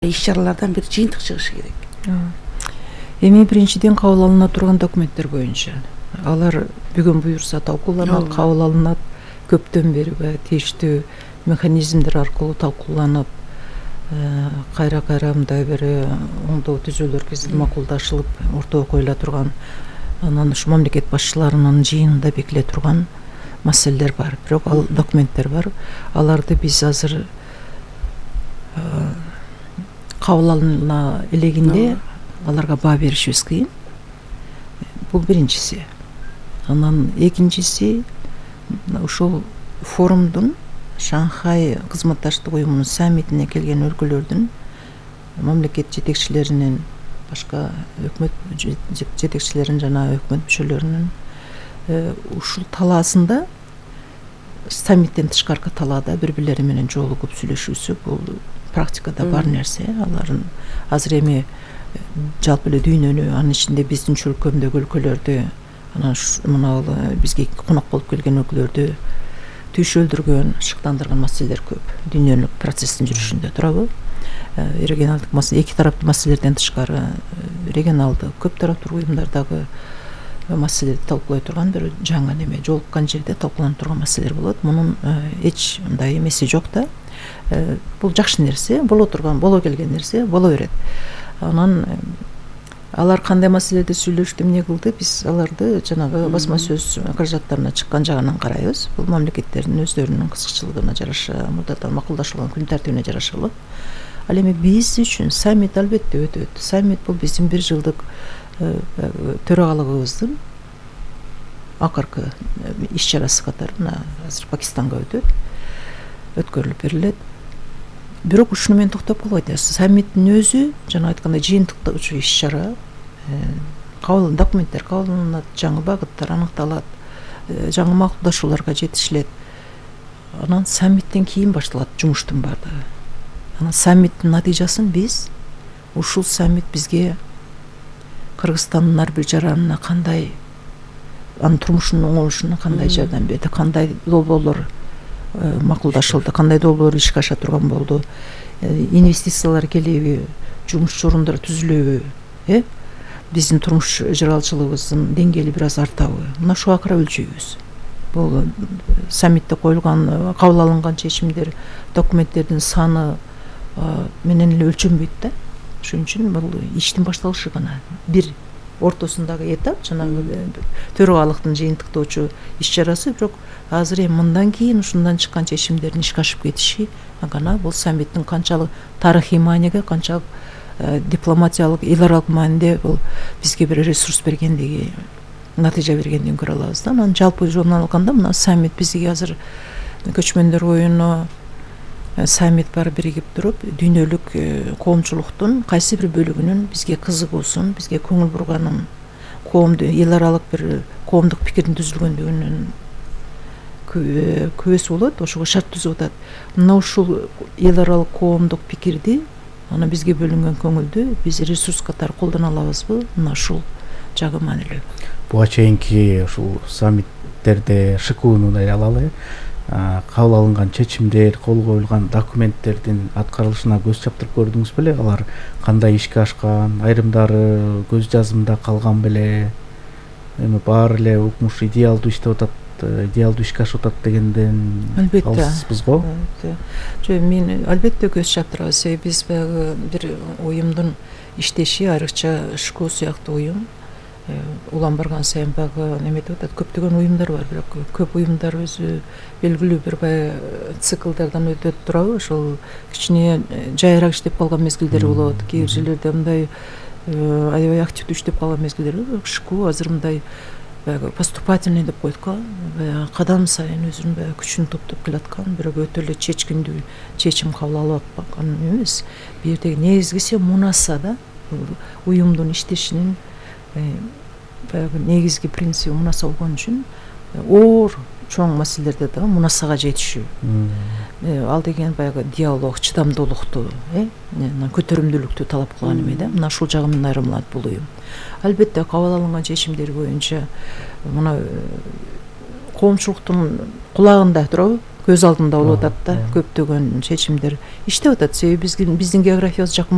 иш-чаралардан бир жыйынтык чыгышы керек. Эми биринчиден кабыл алына турган документтер боюнча алар бүгүн буюрса талкууланат, кабыл алынат. Көптөн бери тийиштүү механизмдер аркылуу талкууланып, кайра мындай бир оңдоо түзүүлөр кезинде макулдашылып ортого коюла турган, анан ушу мамлекет башчыларынын жыйынында бекиле турган маселелер бар. Бирок ал документтер бар. Аларды биз азыр кабыл алына элегинде аларга баа беришибиз кыйын. Бул биринчиси. Анан экинчиси ушул форумдун Шанхай кызматташтык уюмунун саммитине келген өлкөлөрдүн мамлекет жетекчилеринин, башка өкмөт жетекчилеринин жана өкмөт мүчөлөрүнүн ушул талаасында, саммиттен тышкаркы талаада бири-бирлери менен жолугуп сүйлөшүүсү бул практикада бар нерсе. Алардын азыр эми жалпы эле дүйнөнү, анын ичинде биздин чөлкөмдөгү өлкөлөрдү, анан мына бизге конок болуп келген өлкөлөрдү түйшөлдүргөн, шыктандырган маселелер көп. Дүйнөлүк процесстин жүрүшүндө туурабы? Регионалдык маселе, эки тараптуу маселелерден тышкары регионалдык, көп тараптуу уюмдардагы маселелерди талкуулай турган бир жаңы неме, жолуккан жерде талкууланып турган маселелер болот. Мунун эч мындай эмеси жок да. Бул жакшы нерсе, боло келген нерсе, боло берет. Анан алар кандай маселелерди сүйлөштү, эмне кылды, биз аларды жанагы басма сөз каражаттарына чыккан жагынан карайбыз. Бул мамлекеттердин өздөрүнүн кызыкчылыгына жараша, мурдадан макулдашылган күн тартибине жараша болот. Ал эми биз үчүн саммит албетте өтөт. Саммит бул биздин бир жылдык төрагалыгыбыздын акыркы иш-чарасы катары мына азыр Пакистанга өткөрүлүп берилет. Бирок ушуну менен токтоп калбайт. Саммиттин өзү жана айткандай жыйынтыктагычы иш-чара, документтер кабыл алынат, жаңы багыттар аныкталат, жаңы макулдашууларга жетишилет. Анан саммиттен кийин башталат жумуштун баардыгы. Анан саммиттин натыйжасын биз, ушул саммит бизге Кыргызстандын ар бир жаранына кандай, анын турмушунун оңолушуна кандай жардам берди, кандай долбоорлор макулдашылды, кандай долбоорлор ишке аша турган болду, инвестициялар келеби, жумуш орундары түзүлөбү, биздин турмуш жаралчылыгыбыздын деңгээли бир аз артабы. Мына ушуга карап өлчөйбүз. Бул саммитте коюлган, кабыл алынган чечимдер, документтердин саны менен эле өлчөнбөйт да. Ошон үчүн бул иштин башталышы гана. Бир ортосундагы этап, жанагы төрагалыктын жыйынтыктоочу иш-чарасы, бирок азыр эми мындан кийин ушундан чыккан чечимдердин ишке ашып кетиши гана бул саммиттин канчалык тарыхый мааниге, канчалык дипломатиялык, эл аралык мааниде бул бизге бир ресурс бергендиги, натыйжа бергендигин көрө алабыз да. Анан жалпы жолунан алганда мына саммит бизге азыр көчмөндөр оюну саммит бар биригип туруп, дүйнөлүк коомчулуктун кайсы бир бөлүгүнүн бизге кызыгуусун, бизге көңүл бурганын, коомду, эл аралык бир коомдук пикирдин түзүлгөндүгүнүн күбөсү болот, ошого шарт түзүп атат. Мына ушул эл аралык коомдук пикирди, ана бизге бөлүнгөн көңүлдү биз ресурс катары колдоно алабызбы? Мына ушул жагы маанилүү. Буга чейинки ушул саммиттерде ШКУну эле алалы, кабыл алынган чечимдер, кол коюлган документтердин аткарылышына көз чаптырып көрдүңүз беле? Алар кандай ишке ашкан, айрымдары көз жазымда калган беле? Эми баары эле укмуш идеалдуу иштеп атат, идеалдуу ишке ашып атат дегенден алыспыз го? Жок, мен албетте көз чаптырабыз. Себеби биз баягы бир уюмдун иштеши, айрыкча ШКУ сыяктуу уюм улам барган сайын баягы неметип атат. Көптөгөн уюмдар бар, бирок көп уюмдар өзү белгилүү бир баягы циклдардан өтөт турабы. Ошол кичине жайыраак иштеп калган мезгилдери болот. Кээ бир жерлерде мындай аябай активдүү иштеп калган мезгилдери болот. ШКУ азыр мындай баягы поступательный деп коет го, баягы кадам сайын өзүнүн баягы күчүн топтоп келаткан, бирок өтө эле чечкиндүү чечим кабыл алып аткан эмес. Бул жердеги негизгиси мунаса да, уюмдун иштешинин баягы негизги принциби мунаса болгон үчүн оор чоң маселелерде да мунасага жетишүү. Ал деген баягы диалог, чыдамдуулукту, көтөрүмдүүлүктү талап кылган эме да. Мына ушул жагы менен айырмаланат бул уюм. Албетте кабыл алынган чечимдер боюнча мына коомчулуктун кулагында туурабы? көз алдымда болуп атат да, ооба. көптөгөн чечимдер иштеп атат. Себеби биздин географиябыз жакын